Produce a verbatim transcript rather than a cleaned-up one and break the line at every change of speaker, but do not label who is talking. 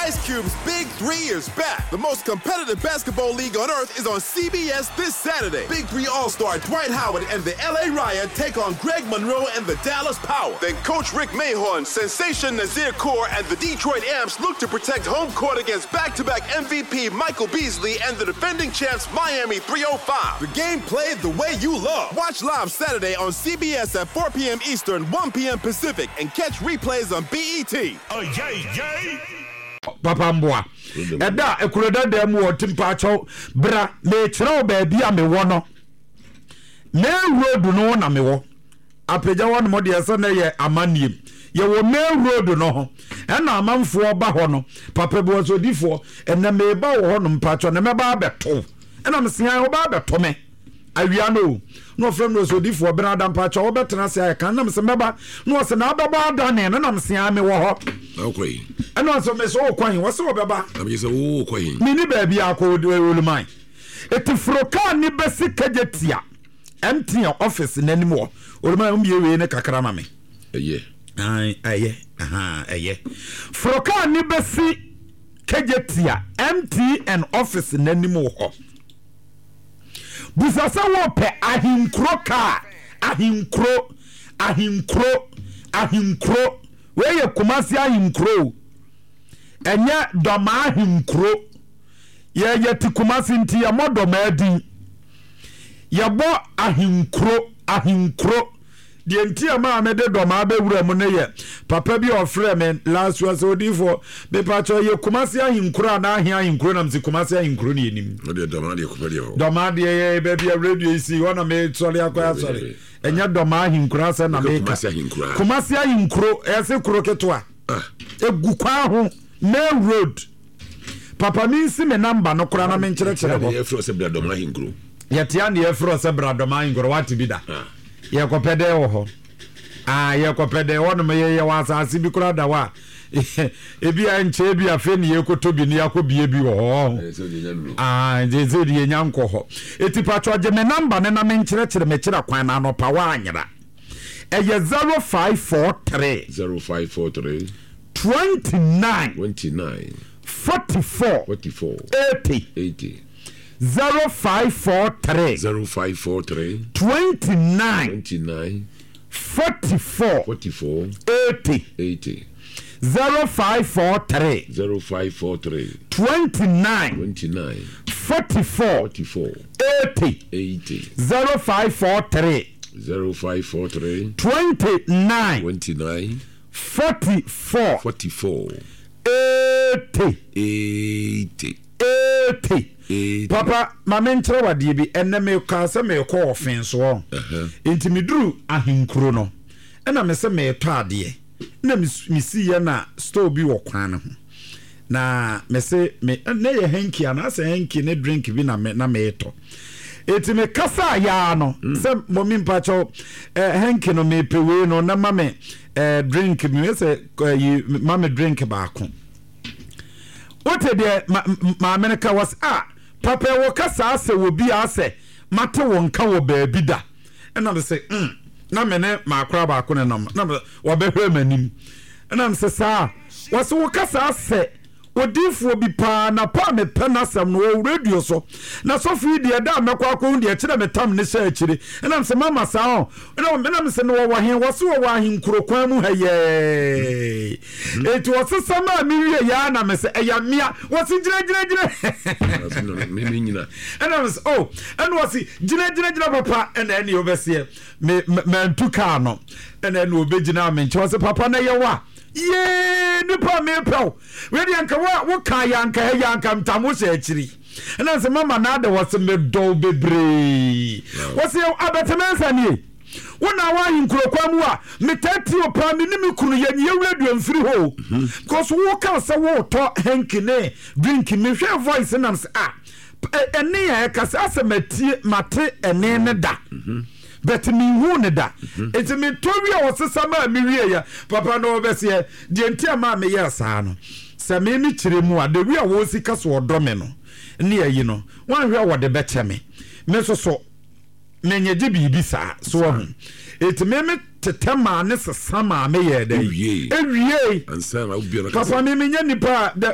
Ice Cube's Big Three is back. The most competitive basketball league on earth is on C B S this Saturday. Big Three All Star Dwight Howard and the L A Riot take on Greg Monroe and the Dallas Power. Then Coach Rick Mahorn, Sensation Nazir Kaur, and the Detroit Amps look to protect home court against back to back M V P Michael Beasley and the defending champs Miami three oh five. The game played the way you love. Watch live Saturday on C B S at four p m. Eastern, one p m. Pacific, and catch replays on B E T.
Oh, yay, yay!
Papa mboa ɛda ekuro dada mu wɔ timpaakyɛw bra mekyerɛ wo baabi a mewɔ no. Main road no na mewɔ apagya hɔ nom deɛ sɛ ne yɛ amaniem. Yɛwɔ main road no ho ɛna amanfoɔ ba hɔ no. Papa bi wɔ sɛ odifoɔ ɛnɛ meba wɔ hɔ nom mpakyɛw na mɛba abɛto ɛna mesea wɔba abɛto me awia no o na ɔfrɛ me sɛ odifoɔ bena ada mpakyɛw wɔbɛtena ase ayɛ kan nam sɛ mɛba na ɔsɛ na abɛbɔ adane no nam sea me wɔ hɔ.
Na wokɔ yi?
Ɛna ɔsɛ me sɛ wokɔ he? Wɔsɛ wɔbɛba.
Na megye sɛ wowokɔ yi?
Meni baabi akɔ oluman ɛti foro kaa ne bɛsi Kagye Tia M T N office n'anim wɔ oluman wombie wei ne kakra ma me.
Ɛyɛ.
Ai, ɛyɛ aha, ɛyɛ foro kaa ne bɛsi Kagye Tia M T N office n'anim wɔ hɔ. Busa sɛ wɔpɛ Ahenkuro kaa. Ahenkuro, Ahenkuro, Ahenkuro wei yɛ Kumasi Ahenkuro o. Ɛnyɛ Dɔmaa Ahenkuro. Yɛyɛ te Kumasi nti yɛmmɔ Dɔmaa din, yɛbɔ Ahenkuro. Ahenkuro deɛ nti a maa mede Dɔmaa bɛwura mu no yɛ papa bi a ɔfrɛ me last year sɛ odiifoɔ mepakyɛ yɛ Kumasi Ahenkuro anaa ahe Ahenkuro nam sɛ Kumasi Ahenkuro ne yɛnim.
Wodeɛ Dɔmaa deɛ kɔpɛ deɛ hɔ.
Dɔmaa deɛ yɛ baabi a radio yi si hɔ na mesɔre akɔ asɔre. Ɛnyɛ Dɔmaa Ahenkuro asɛ na meka.
Kumasi Ahenkuro.
Kumasi Ahenkuro ɛsɛ kuro ketewa egu kwan ho, main road. Papa mi nsi me number no koraa na menkyerɛkyerɛ hɔ.
Yɛfrɛ sɛ bra Dɔmaa Ahenkuro.
Yɛtea ne yɛfrɛ sɛ bra Dɔmaa Ahenkuro. Wate bi da? Yɛkɔpɛ dɛ wɔ hɔ ah yɛkɔpɛ dɛ hɔnom. Yɛyɛ wɔ asase bi koraa da hɔ a ebi a nkyɛn bi afei ne yɛkɔtɔ bi ne yɛakɔ bie bi wɔ hɔ. Ah, nti sɛ de yɛnya nkɔ hɔ eti patro gye me number ne na menkyerɛkyerɛ mekyerɛ kwan na anɔpa woanyera. Ɛyɛ zero five four three
zero five four three
twenty-nine
twenty-nine
forty-four
forty-four
eighty.
eighty.
zero five four three
zero five four three
twenty-nine
twenty-nine
forty-four
forty-four
eighty.
eighty.
zero five four three
zero five four three
twenty-nine
twenty-nine
forty-four
forty-four
eighty.
eighty.
zero five four three
zero five four three
twenty-nine
twenty-nine
forty-four
forty-four
eighty.
eighty.
eighty.
eighty.
Papa ma menkyerɛ wadeɛ bi. Ɛnɛ mekaa sɛ merekɔ ɔfen soɔ nti meduru Ahenkuro no ɛna me sɛ meretɔ adeɛ na mesiiɛ na store bi wɔ kwan no ho na mese me ne yɛ hanky anaasɛ hanky ne drink bi na me na meretɔ. Eti me kasa yaa no sɛ mɔmi mpakyɛw eh, hanky no mepɛ wei no na ma me eh, drink mi sɛ eh, ma me drink baako. Wote deɛ ma maame no ka wɔ sɛ ah papa wɔ kasa asɛ wɔ bi asɛ mate wɔn nka wɔ baabi da. Ɛna me sɛ mm na me ne maakora baako ne nam na wɔbɛhwɛ m'anim ɛna me sɛ saa wɔsɛ wɔ kasa asɛ odiifoɔ bi paa na pa a mepɛ n'asɛm no wɔ radio so na sɔfo yi deɛ da a mɛkɔ akɔhu deɛ kyerɛ me tam ne hyɛ akyire. Ɛnam sɛ mama saa ɔ ɛnam sɛ no wɔwɔ he wɔse wɔwɔ ahenkuro kwan mu ha yɛɛ. Enti wɔsesa ma a mewie yɛa na me sɛ ɛyɛ mmea wɔse gyinagyinagyina. Ɛnam sɛ o ɛna wɔse gyinagyinagyina papa ɛna ɛne wobɛseɛ me mantu kaa no ɛna ɛne wɔbɛgyina me nkyɛn wɔse papa na yɛwɔ a yee nipa mepɛw wedeɛ nka woka yɛ anka ɛyɛ anka ntam wohyɛ akyiri. Ɛna sɛ mama na ada wɔse medɔw bebree wɔse abɛtɛmɛnsa nie wo na woahe nkurokwa mu a metaa tie o paa. Me ne me kunu yɛnyɛ radio mfiri hɔ because woka sɛ wotɔ hanky ne drink. Mehwɛ voice nam sɛ ah ɛne a ɛka sɛ asɛ matie mate ɛne ne da but mehu ne da. Nti metɔ wie a wɔsesa maa mewie yɛ papa na wɔbɛseɛ deɛ nti a maa meyɛɛ saa no sɛ me me kyerɛ mu a the way a wɔsi ka so ɔdɔ me no ne ayi no wɔanhwɛ a wɔde bɛkyɛ me me nso so menyɛ gye biribi saa so wɔ ho. Eti me me tetɛ maa ne sesa maa me yɛ dɛ ewie. Papa me menyɛ nipa a